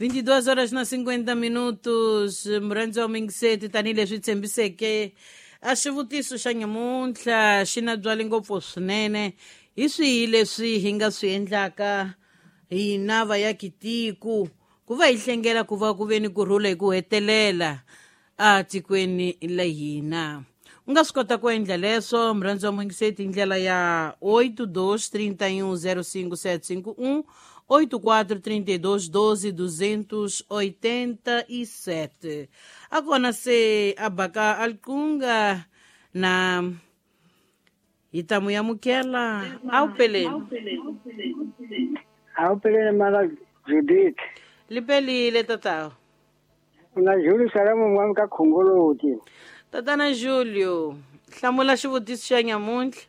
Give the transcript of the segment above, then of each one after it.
22 horas na 50 minutos. Murhandzi wa mingiseti, tanihileswi tshembiseke a xivutiso xa nyamuntlha xi na byali ngopfu swinene. Hi swihi leswi hi nga swi endlaka hina vayakitiko ku va hi hlengela ku va ku ve ni kurhula hi ku hetelela a tikweni la hina? U nga swi kota ku endla leswo, murhandzi wa mungiseti, hi ndlela ya 82 31 05751, 84 32 12 287. A kona se a baka alqunga na hi ta mu amukela. A wu peleni. A wu peleni, mana Judith. Li pelile, tatawa. Na Julio Salamu mwami ka Khongoloti. Tatana Julio, hlamula xivutiso xa nyamuntlha.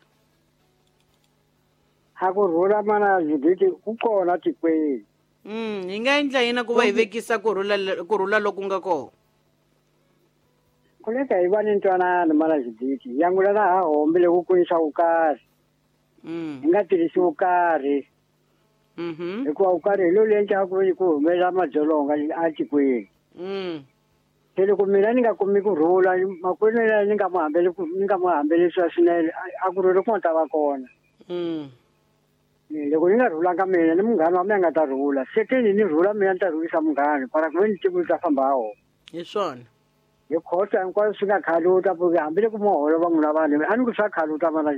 A ku rhula, mana Judith, ku kona tikweni. Hi nga endla yini ku va hi vekisa kurhula, kurhula loku nga kona? Ku leka hi va ni ntwanano, mana Judith, yangulana ha hombe loko ku yisa vukarhi. Hi nga tirhisi vukarhi. Hikuva vukarhi hi lo endlaka ku ku humelela madzolonga a tikweni. Se loko mina ni nga kumi ku rhula, makwenu yena ni nga mu hambeli, ni nga mu hambelisiwa swinene, a ku rhuli ku nga ta va kona. Loko ni nga rhulanga mina, ni munghana wa mina nga ta rhula. Second, ni rhula mina, ni ta rhulisa munghana para ku ve ni tiko li ta famba ha wona. Hi swona. Hi khosa hinkwaswo swi nga khaluta porque hambi loko mo holova n'wina vanhu, a ni ku swa khaluta, mana.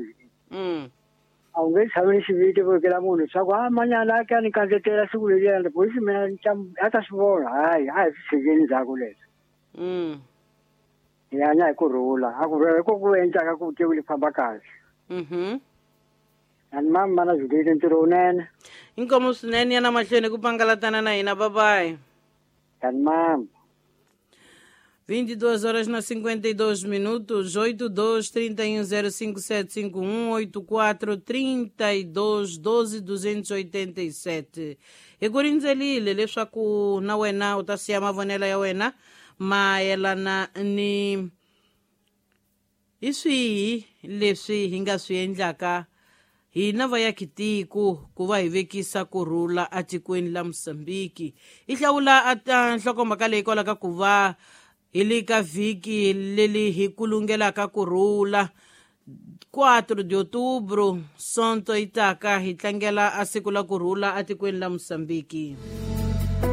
A wu nge tshami ni xiviti vekela munhu swa ku a manyana a ka ni kandzetela siku leriya polisi mina ni ta a ta swi vona. Hayi, a hi swi tshikeni ndzhaku leswi. Hi hanya hi ku rhula, a ku rhula hi ko ku endlaka ku tiko li famba kahle. Ani mama, mana Judith, ntirho wunene. Inkomu swinene, ya na mahlweni ku pangalatana na hina. Babayi. Ani mama. 22 horas na 52 minutos, 82 31 05751, 84 32 12 287. Hi ku rindzelile leswaku na wena u ta siya mavonelo ya wena mayelana ni hi swihi leswi hi nga swi endlaka hina vayakitiko ku va hi vekisa kurhula atikweni la Mosambiki. Hi hlawula a nhlokomhaka leyi kwalaka ku va hi le ka vhiki leli hi kulungelaka kurhula. 4 de outubro, sonto yi taka, hi tlangela a siku la kurhula atikweni la Mosambiki.